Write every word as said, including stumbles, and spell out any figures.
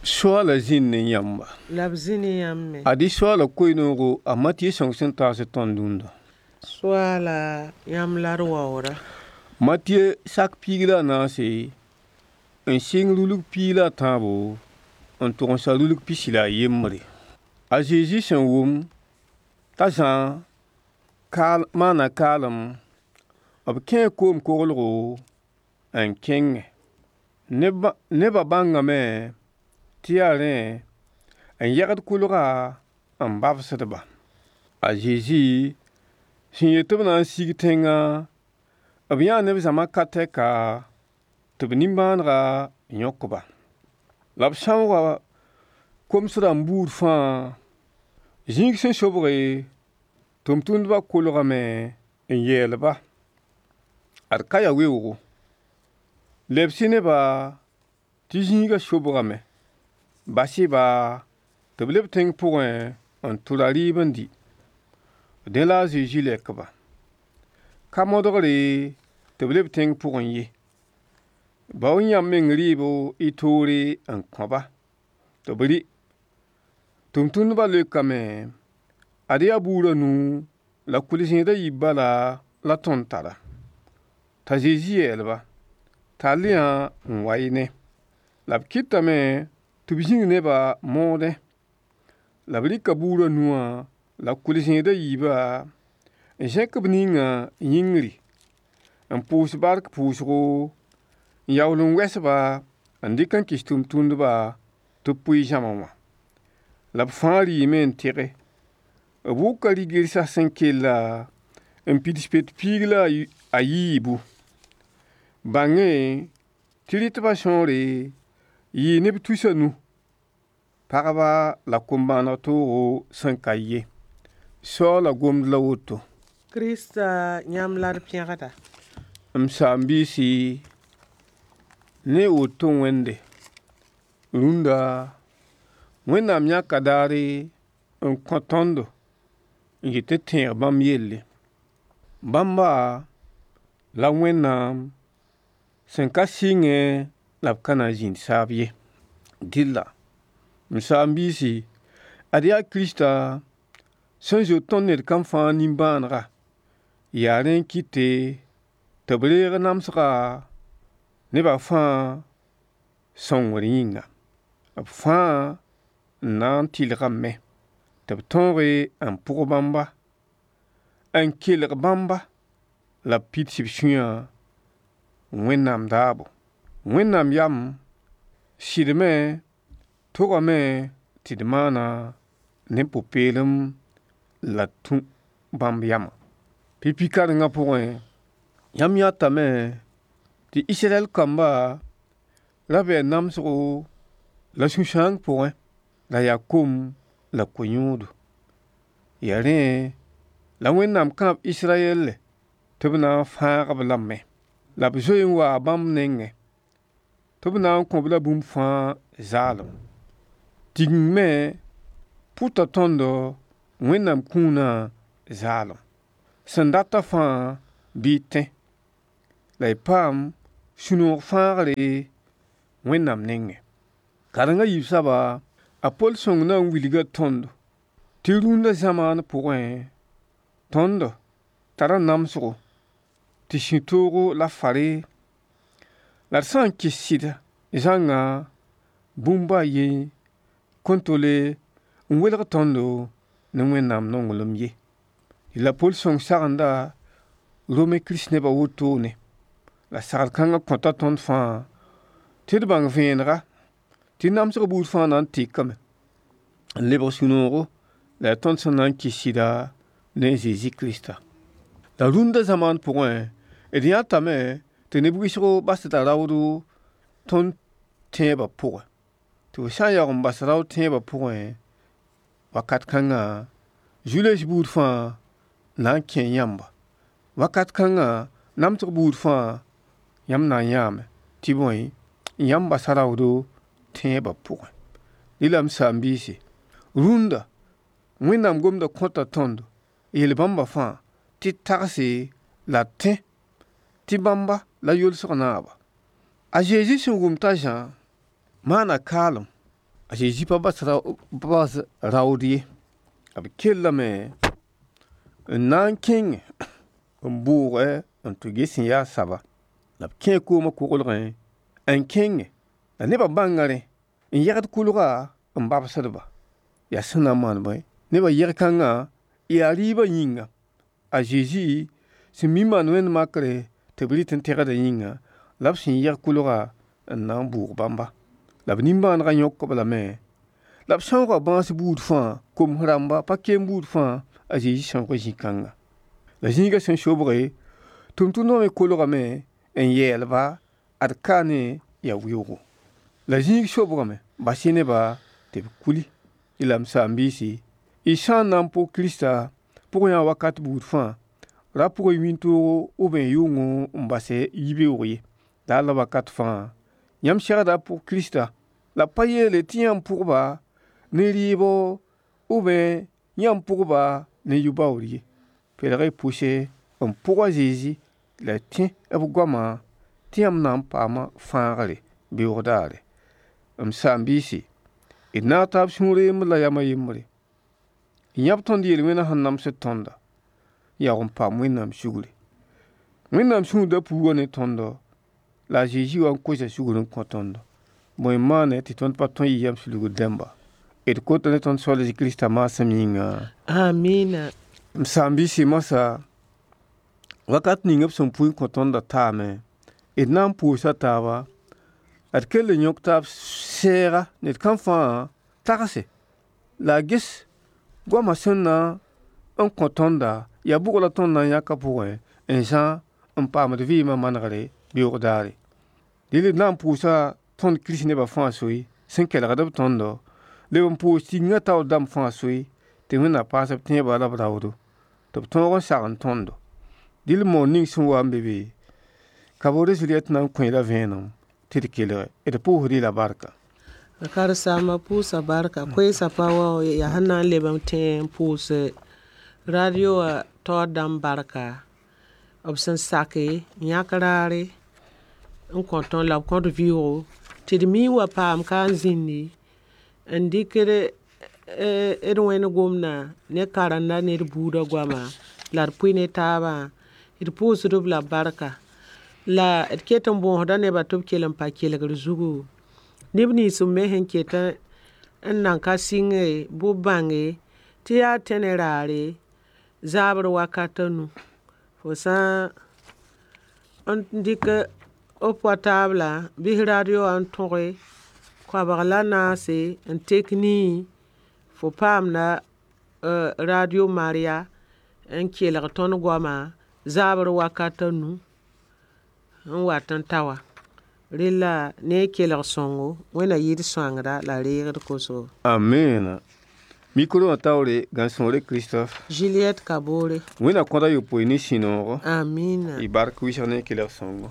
Soaala zĩnd ne yãmba. La b zĩ ne yãmb me. Ad-y soaala koe-noogo a Matiye sõng sẽn taas tõnd rũndã. Soaala yãmb la d waoora. Matiye sak piig la a naase n sɩng rulg piig la a tãabo n tʋg n sa rulg pisi la a yembre. A Zezi sẽn wʋm t'a Zã kaal maana kaalem, b kẽe koom-koglgo n kẽngẽ. Nebã bãngame tɩ yaa rẽ n yegd kʋlga n babsd-ba. A Zezi sẽn yet tɩ b na n sig tẽngã, b yãa neb zãma ka-tɛka tɩ b nimbãanega yõk-ba. La b sãooga koms rãmb buud fãa. Zĩig sẽn sobge, tʋmtʋmdbã kolgame n yeel-ba: Ad ka yaa weoogo. Lebs-y nebã tɩ zĩigã sobgame. Bas-y-ba tɩ b leb tẽng pʋgẽ n tʋra rɩɩb n dɩ. Dẽ la a Zezi lɛk-ba. Ka modgre tɩ b leb tẽng pʋgẽ ye. Bao yãmb meng rɩɩbo y toore n kõ-ba tɩ b rɩ. Tʋmtʋmdbã leokame, ad yaa buud a nu la kʋɩl-zẽed a yiib bala la tõnd tara. T'a Zezi yeel-ba, tall-y-yã n wa y ne. La b kɩtame tɩ b zĩng nebã moodẽ. La b rɩka buud a nu wã la kʋɩl-zẽed a yiiba n zẽk b ninga yĩngri, n pʋʋs bark pʋʋsgo, n yaool n wɛs-ba n dɩk n kɩs tʋmtʋmdba tɩ b pʋɩ zãma wã. La b fãa rɩɩme n tɩge. B wʋka rɩ-gɩrsã sẽn kella n pids pet piig la a yiibu. Bãng-y tɩ rɩtbã sõore yɩɩ neb tus a nu, pagba la kom-bãaneg toogo sẽn ka ye. Soaala gomd la woto. Kirista yãmb la d pẽgda. M saam-biisi, ne woto Wẽnde rũndã Wẽnnaam yãka daare n kõ tõndo n yet tɩ tẽeg bãmb yelle. Bãmba la Wẽnnaam sẽn ka sɩngẽ la b ka na n zĩnd saab ye. Dɩlla, m saam-biisi, ad yaa Kirista sẽn zoet tõnd ned kam fãa nimbãanega, yaa rẽ n kɩte tɩ b reeg namsga nebã fãa sõngr yĩnga. B fãa n na n tɩlgame tɩ b tõoge n pʋg bãmba, n kelg bãmba la b pids b sũyã Wẽnnaam daabo. Wẽnnaam yam sɩdme togame tɩ d maana ne pʋ-peelem la d tũ bãmb yamã. Pipi kãrengã pʋgẽ, yãmb yãtame tɩ Israɛl kambã ra bɩ namsgo la sũ-sãang pʋgẽ, la yaa kom la ko-yõodo. Yaa rẽ la Wẽnnaam kãab Israyɛl tɩ b na n fãag-b lame. La b zoe n waa bãmb nengẽ tɩ b na n kõ-b la bũmb fãa zaalem. Tigeng me pʋta tõndo Wẽnnaam kũunã zaalem. Sẽn data fãa bɩ y tẽ la y paam sũ-noog fãagre Wẽnnaam nengẽ. Karen a yiib soaba, a Pol sõng na n wilga tõndo tɩ rũndã zãmaan pʋgẽ tõndo tara namsgo tɩ sũ-toogo la fare la d sã n kɩs sɩda zãnga bũmb ba yen kõn tole n welg tõndo ne Wẽnnaam nonglem ye. La Pol sõng sagenda Rome kirist nebã wotone. La sagl kãngã kõta tõnd fãa tɩ d bãng vẽenega tɩ namsg buud fãa na n tekame n lebg sũ-noogo la yaa tõnd sẽn na n kɩs sɩda ne Zezi Kirista. La rũndã zamaan pʋgẽ d yãtame tɩ neb wɩsgo basda raoodo tõnd tẽebã pʋgẽ. Tɩ f sã n yaoog n bas raood tẽebã pʋgẽ, wakat kãngã zu-loees buud fãa na n kẽ yãmba. Wakat kãngã namsg buud fãa yãmb na n yãame tɩ bõe yãmb basa raoodo tẽebã pʋgẽ. Rɩla m saam-biisi, rũndã Wẽnnaam gomda kõta tõndo yel bãmba fãa tɩ tagse la d tẽ tɩ bãmba la yolsg naaba. A Zezi sẽn wʋm t'a Zã maana kaalem A Zezi pa bas bas raood ye, b kellame n na n kẽng n bʋʋge n tɩ ges sẽn yaa saba. La b kẽe koomã koglgẽ n kẽnge, la nebã bãnga rẽ n yɛgd kʋlga n babsdba. Yaa sẽn na n maan bõe, nebã yɛg-kãngã yaa rɩɩbã yĩnga. A Zezi sẽn mi n maan wẽnd makre tɩ b rɩt n tẽgdã yĩnga, la b sẽn yɛg kʋlga n na n bʋʋg bãmba. La b nimbãanegã yõk-b lame, la b sãooga bãas buud fãa, koms rãmba, pa-keem buud fãa, a Zezi sãooga zĩ-kãnga. La zĩigã sẽn sobge, tʋmtʋmdbã me kolgame n yɛɛl-ba ad ka ne yaa weoogo. La zĩig sobgame, bas-y nebã tɩ b kuli. La m saam-biisi, y sã n na n pʋg Kirista pʋgẽ yã wakat buud fãa, ra pʋgẽ wĩntoogo b yʋngo n bas yibeoog ye. Daal la wakat fãa yãmb segda pʋg Kirista, la b pa yeele tɩ yãmb pʋgba ne rɩɩbo ou bien yãmb pʋgba ne yʋ-baoor ye. Pelg y pʋse n pʋg a Zezi la y tẽ b goamã tɩ yãmb na n paama fãagre beoog daare. M saam-biisi, d naag taab sũur yembr la yam a yembre. Yãb tõnd yel-wẽnã sẽn namsd tõnda, yaoog n paam Wẽnnaam sugri. Wẽnnaam sũur da puuga ne tõndo, la a Zezi wa n kosa sugr n kõ tõndo. Bõe n maane tɩ tõnd pa tõe n yɩ yam sulgd dãmba. D kota ne tõnd Soaal Kirista maasem yĩnga. Amina. M saam-biisi, moasã wakat ning b sẽn pʋɩ n kõ tõndã taame, d na n pʋʋsa taaba, d kell n yõk taab sɛɛga ned kam fãa tagse la a ges goamã sẽn na n kõ tõnda, yaa bʋg la tõnd na n yãk a pʋgẽ n zã n paamd vɩɩmã manegre beoog daare. Dẽnd d na n pʋʋsa tõnd Kirist nebã fãa soe sẽn kelgd b tõndo, leb n pʋʋs tigengã taoor dãmb fãa soe tɩ Wẽnnaam paas b tẽebã la b raoodo, tɩ b tõog n sagn tõndo. Dɩl moon ning sẽn wa n be be, Kabore Juliette na n kõ-y la vẽenem tɩ d kelge, d pʋʋsd-y la barka. Karen-saambã pʋʋsa barka. Koeesã pa wa yaa sẽn na n leb n tẽ n pʋʋs radio wã taoor dãmb barka, b sẽn sake n yãk raare n kõ tõnd la b kõt vɩʋʋgo tɩ d mi n wa paam ka n zĩndi n dɩkd d wẽnd gomdã ne karenda ne d buudã goama la d pʋɩ ne taabã, d pʋʋsd-b la barka. La d ket n bõosda nebã tɩ b kell n pa kelgr zugu, neb nins me sẽn ket n nan ka sɩnge bɩ b bãnge tɩ yaa tẽne raare zabr wakat a nu. Fo sã n dɩk f portable bɩ radio wã n tõge koabg la naase n tek nii, fo paamda radio Maria n kelg tõnd goama zabr wakat a nu n wat n ta wã. Rella ne kelg sõngo, Wẽnna yɩ d sõangda la reegd kosgo. Amina. Micro wã taoore Gãn-sõore Christophe. Juliette Kabore. Wẽnna kõda yopoe ne sũ-noogo. Amina. Y bark wɩsg ne kelg sõngo.